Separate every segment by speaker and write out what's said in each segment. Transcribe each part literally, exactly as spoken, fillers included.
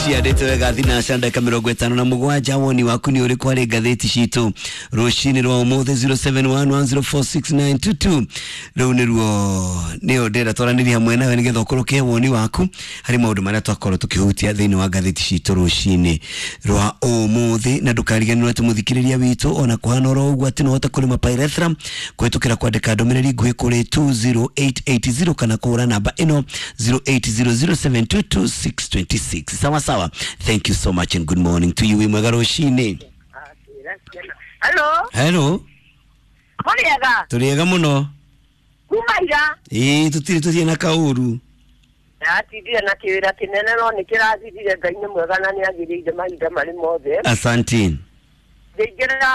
Speaker 1: Ciandĩte wega thinaca ndagĩka mĩrongo ĩtano na mũgwanja. Woni waku nĩ ũrĩkũ harĩ ngathĩti citũ rũcinĩ rwa ũmũthĩ? zero seven one one zero four six nine two two rĩu nĩruo nĩyo ndĩrenda twaranĩrie hamwe nawe nĩgetha ũkũrũke woni waku harĩ maũndũ marĩa twakorwo tũkĩhutia thĩinĩ wa ngathĩti citũ rũcinĩ rwa ũmũthĩ. Na ndũkariganĩrwo atĩ mũthikĩrĩria witũ ona kũhana oro ũguo atĩ no ũhote kũrĩma pyrethrum kũhĩtũkĩra kwandĩka ndũmĩrĩri nguhĩ kũrĩ two zero eight eight zero kana kũhũra namba ĩno zero eight zero zero seven two two six two six. Sawa sawa, thank you so much and good morning to you. Wĩ mwega rũcinĩ.
Speaker 2: Hello.
Speaker 1: Hello.
Speaker 2: Mũrĩega?
Speaker 1: Tũrĩega mũno.
Speaker 2: Kuma ira?
Speaker 1: Ĩĩ, tũtirĩ tũthiĩ na kaũru.
Speaker 2: Ndatindire na kĩwĩra kĩnene no nĩ kĩrathirire. Ngai nĩ mwega na nĩ agĩrĩire mahinda marĩ mothe.
Speaker 1: Asanti.
Speaker 2: Ngĩingĩra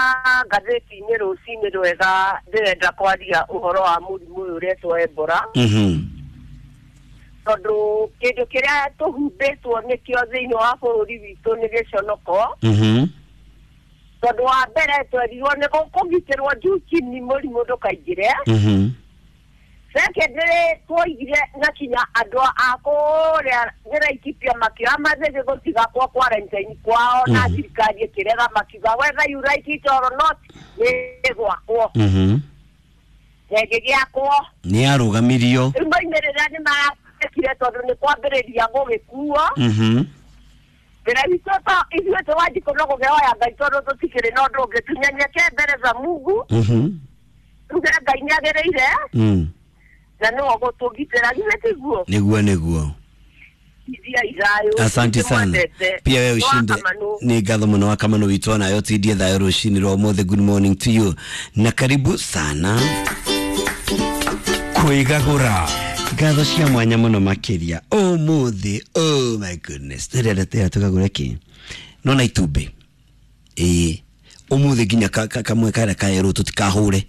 Speaker 2: ngathĩti-inĩ rũcinĩ rwega, ndĩrenda kwaria ũhoro wa mũrimũ ũyũ ũretwo Ebola.
Speaker 1: Mhm.
Speaker 2: Tondũ kĩndũ kĩrĩa tũhumbĩtwo nĩkĩo thĩinĩ wa bũrũri witũ nĩ gĩconoko.
Speaker 1: Mhm.
Speaker 2: Tondũ wa mbere twerirwo nĩ gũkũgitĩrwo juu chini mũrimũ ndũkaingĩre.
Speaker 1: Mhm.
Speaker 2: Secondly, twoigire na kinya andũ a kũrĩa Laikipia makĩoya mathĩgĩ gũtiga kwa quarantine kwao na
Speaker 1: Mhm.
Speaker 2: thirikari ĩkĩrega makiuga whether you like it or not nĩ gwakwo.
Speaker 1: Mhm.
Speaker 2: Ĩngĩgĩakwo.
Speaker 1: Nĩ yarũgamirio.
Speaker 2: Rĩu moimĩrĩra nĩ marekire tondũ nĩ kwambĩrĩria gũgĩkuo.
Speaker 1: Mhm.
Speaker 2: Wĩra witũ to ithuĩ tũwanjikũ no gũkĩhoya Ngai tondũ tũtikĩrĩ na ũndũ ũngĩ, tunyenyekee mbere za Mungu.
Speaker 1: Mhm.
Speaker 2: Tuge Ngai nĩ agĩrĩire
Speaker 1: Mm.
Speaker 2: na nĩwe ũgũtũgitĩra, githĩ tiguo?
Speaker 1: Nĩguo nĩguo.
Speaker 2: Ithia ithayũ.
Speaker 1: Asante sana.
Speaker 2: Nĩmwendete.
Speaker 1: Pia wewe ushinde.
Speaker 2: Wakamanu.
Speaker 1: Nĩ ngatho mũno wa Kamanu witũ, nayo tindie thayũ rũcinĩ rwa ũmũthĩ. Good morning to you na karibu sana.
Speaker 3: Kwĩgagũra.
Speaker 1: Ngatho cia mwanya mũno makĩria ũmũthĩ. Oh my goodness, ndĩrenda tĩra tũkagũre kĩ no na itumbĩ ĩĩ ũmũthĩ nginya ka- ka- kamwe karĩa kaerũ tũtikahũre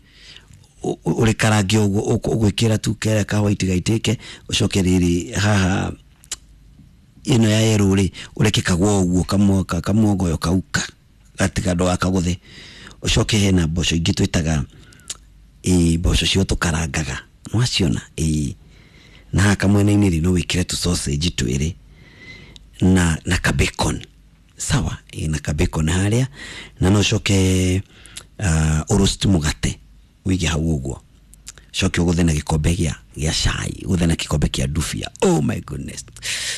Speaker 1: ũrĩkarange ũguo ũgwĩkĩra tu karĩa ka white gaitĩke, ũcoke rĩrĩ haha ĩno ya yerũ rĩ ũreke kagwo ũguo kamwoka kamwogoyo kauka gatiga ndũgakagũthe. Ũcoke hena mboco ingĩ twĩtaga ĩ mboco cio tũkarangaga nwaciona ĩ na haha kamwena-inĩ rĩ no wĩkĩre tu sausage twĩrĩ na na ka bacon, sawa, ĩ na ka bacon harĩa, na no ũcoke uh, ũroast mũgate wĩige hau ũguo, coke ũgũthe na gĩkombe gĩa gĩa cai, ũgũthe na gĩkombe kĩa ndubia. Oh my goodness,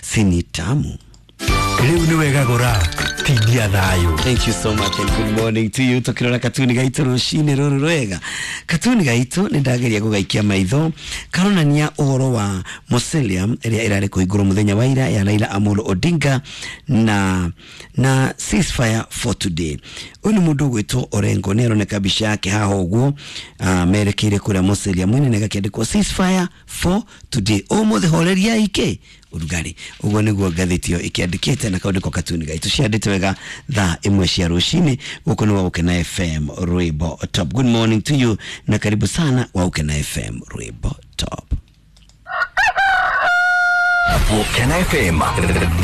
Speaker 1: sini tamu.
Speaker 3: Rĩu nĩ wegagũra tindia thayũ.
Speaker 1: Thank you so much and good morning to you. Tukirora katuni gaitu rucini ruru rwega, katuni gaitu nĩ ndageria gũgaikia maitho karonania ũhoro wa mausoleum ĩrĩa ĩrarĩ kũhingũrwo mũthenya wa ira ya Raila Amolo Odinga na na ceasefire for today. Ũyũ nĩ mũndũ ũgwĩtwo Orengo, nĩ aroneka mbica yake haha ũguo uh, merekeire kũrĩa mausoleum ĩno, ĩgakĩandĩkwo ceasefire for today, ũmũthĩ horeria ike ũrugarĩ. Ũguo nĩguo ngathĩti ĩyo ĩkĩandĩkĩte na kaũndũ katuni gaitũ ciandĩte wega thaa ĩmwe cia rũcinĩ. Gũkũ nĩ Waũkena F M Rwĩmbo Top. Good morning to you na karibu sana Waũkena F M Rwĩmbo Top.
Speaker 3: Waũkena F M.